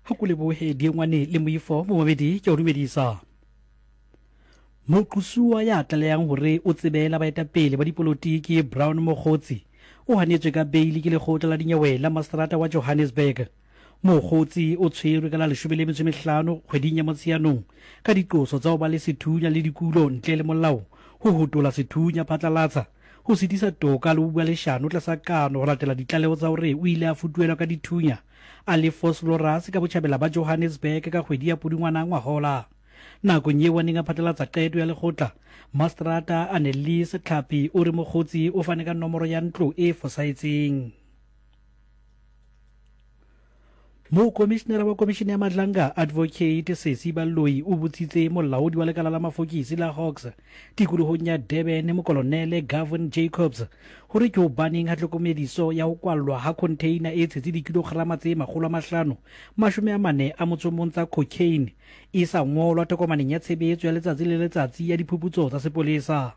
Go ko leboge Diengwane le Moifo momamedi ke a go dumedisa. Moqosuwa ya tlalehang hore o tsebela baetapele ba dipolotiki Brown Mogotsi o hanetswe ka beili ke lekgotla la dinyewe la maseterata wa Johannesburg. Mogotsi o tshwerwe ka la 15 kgweding ya Motsheanong ka diqoso tsa ho ba le sethunya le dikulo ntle le molao, ho hotola sethunya phatlalatsa, ho sitisa toka le ho bua leshano tlasa kano ho latela ditlaleho tsa hore o ile a futuhelwa ka dithunya a le Vosloorus ka botjhabela ba Johannesburg ka kgwedi ya Pudungwana ngwahola. Nakong yeo a neng a phatlalatsa qeto ya lekgotla, Maseterata Annelies Tlhapi o re Mogotsi o fane ka nomoro ya ntlo e fosahetseng. Mokomishinara wa Komishene ya Madlanga, Advocate Sesi Baloyi o botsitse molaodi wa lekala la mafokisi la Hawks tikolohong ya Durban, Mokolonele Gavin Jacobs, gore ke hobaneng ha tlhokomediso ya ho kwallwa ha khontheina e tshetse dikilograma tse 541 tsa cocaine e sa ngolwa tokomaneng ya tshebetso ya letsatsi le letsatsi ya diphuputso tsa sepolesa.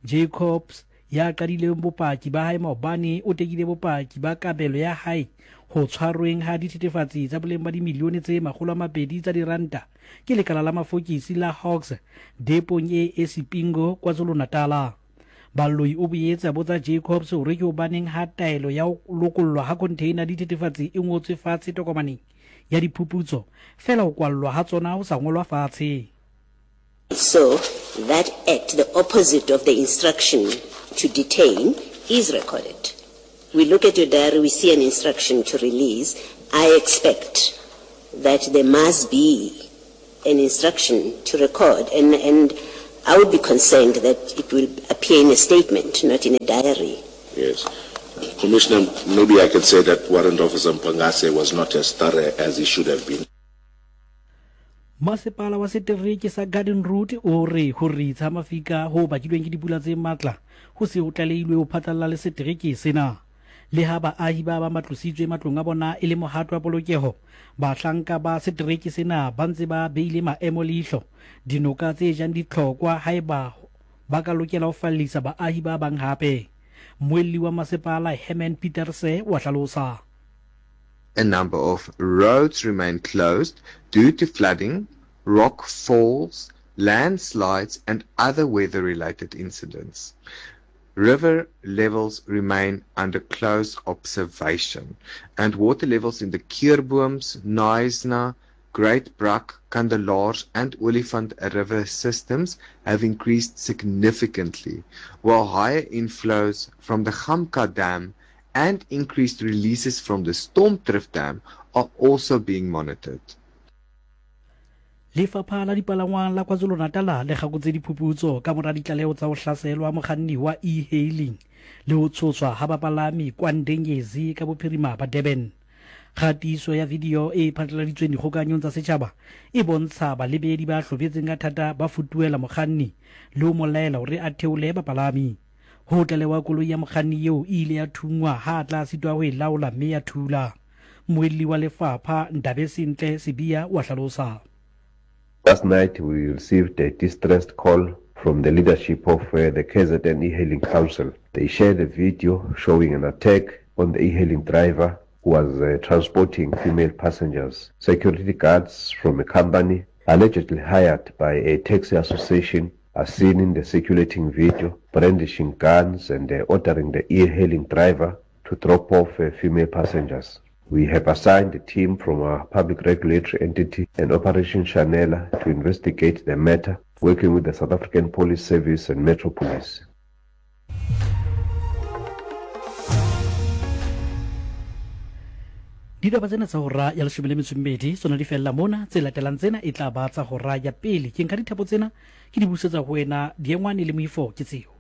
Jacobs, ya qadileng bopaki ba hae maobane, o tekile bopaki ba kabelo ya hae ho tshwarweng ha dithethefatsi tsa boleng ba dimilione tse 200 tsa diranta ke lekala la mafokisi la Hawks depong e Esipingo, KwaZulu-Natala. Baloyi o boetse a botsa Jacobs hore ke hobaneng ha taelo ya ho lokollwa ha khontheina dithethefatsi e ngotswe fatshe tokomaneng ya diphuputso, feela ho kwallwa ha tsona ho sa ngolwa fatshe. So that act, the opposite of the instruction to detain, is recorded. We look at your diary, we see an instruction to release. I expect that there must be an instruction to record, and, and I would be concerned that it will appear in a statement, not in a diary. Yes. Commissioner, maybe I can say that Warrant Officer Mpangase was not as thorough as he should have been. Masepala wa setereke sa Garden Route o re ho ritsa mafika ho bakilweng ke dipula tse matla ho se ho tlalehilwe ho phatlalla le setereke sena. Le ha baahi ba bang ba tlositswe matlong a bona e le mohato wa polokeho, bahlanka ba setereke sena ba ntse ba beile maemo leihlo dinoka tse jang ditlhokwa haeba ba ka lokela ho fallisa baahi ba bang hape. Mmuelli wa masepala Herman Pieterse wa hlalosa. A number of roads remain closed due to flooding, rock falls, landslides and other weather-related incidents. River levels remain under close observation, and water levels in the Keurbooms, Knysna, Great Brak, Kandelaars and Olifant River systems have increased significantly, while higher inflows from the Gamka Dam and increased releases from the Stormdrift Dam are also being monitored. Lefapha la Dipalangwang la KwaZulu-Natal le kgakotse diphuputso ka mora ditlaleho tsa ho hlaselwa mokganni wa e-hailing le ho tshoswa ha bapalami KwaNdengezi ka bophirima ba Durban. Kgatiso ya video e phatlaladitsweng dikgokahanyong tsa setjhaba e bontsha balebedi ba hlobetseng ka thata ba futuhela mokganni le ho mo laela hore a theole bapalami. Ho tlalewa koloi ya mokganni eo e ile ya thunngwa ha a tla sitwa ho e laola mme ya thula. Mmuelli wa lefapha, Ndabesintle Sibiya o a hlalosa. Last night we received a distressed call from the leadership of uh, the KZN e-hailing council. They shared a video showing an attack on the e-hailing driver who was uh, transporting female passengers. Security guards from a company allegedly hired by a taxi association are seen in the circulating video brandishing guns and uh, ordering the e-hailing driver to drop off uh, female passengers. We have assigned a team from our public regulatory entity and Operation Shanela to investigate the matter, working with the South African Police Service and Metro Police. Ditaba tsena tsa hora ya leshome le metso mmedi tsona di fella mona. Tse latelang tsena e tla ba tsa hora ya pele. Ke nka dithapo tsena ke di busetsa ho wena Diengwane le Moifo ke tseo.